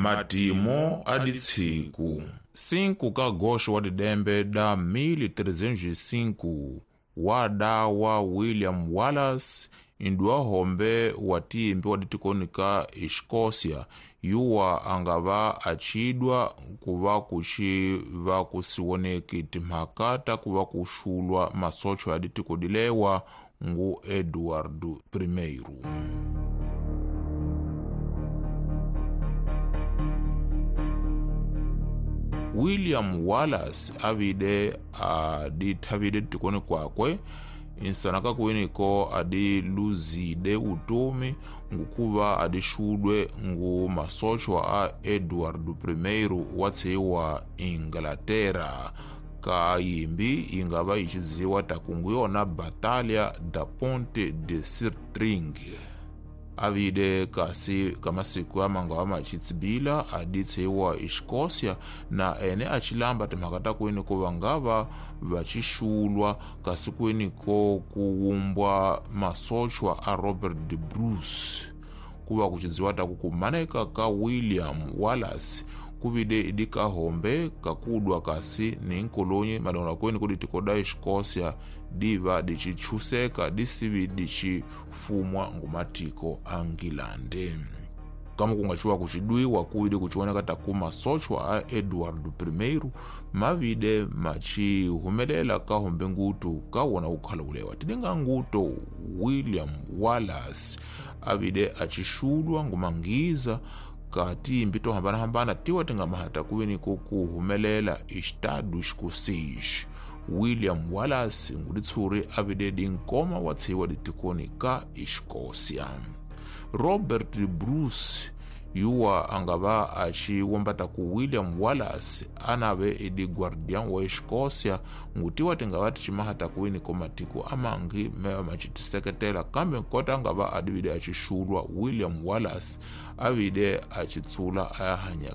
Matimo a ditshiku 5 ka agosto wa didembe da 1305 wadawa William Wallace induwa hombe wa timbi wa ditikoni ka Escócia yuwa angava achidwa kuva kuxi va kusiwoneki timhaka ta kuva kuxulwa masocho ya ditiko dilewa ngu Eduardo I. William Wallace avide adithavile ditikoni kwakwe insanaka kuwiniko adiluzide utomi ngukuva adixudwe ngu masochwa a Eduardo I wa tshiwa Inglaterra ka yimbi yingava yixidziwa takungu yona Batalha da Ponte de Stirling. Avide kasi ka masiku ya mangava machitsibila aditshiwa Escócia na ene achilamba timhaka ta kwini ko vangava vachixulwa kasi kwini ko kuwumbwa masochwa a Robert de Bruce kuva kuchidziwa taku kumaneka ka William Wallace kuvide idi kahombe kakudwa kasi ni nkolonyi madonga kweni kudi tikoda Escócia diva dichichuseka disivi dichifumwa ngumatiko a Ngilande. Kama kungachiwa kuchidwiwa kuvide kuchioneka taku masochwa a Eduardo I mavide machihumelela kahombe ngutu kawona kukhala ulewa tidinga nguto William Wallace avide achixulwa ngumangiza ka timbi to hambanahambana tiwa tingamahata kuveni ko kuhumelela Estado Escocês. William Wallace nguditshuri avide dinkoma wa tshiwa ditikoni ka Escócia. Robert Bruce yuwa angava achiwombata ku William Wallace anave idi guardian wa Escócia ngutiwa tingava tichimahata kuwini ko matiko amangi mewa machitiseketela kambe nkota angava adivide achixulwa William Wallace avide achitsula ayahanya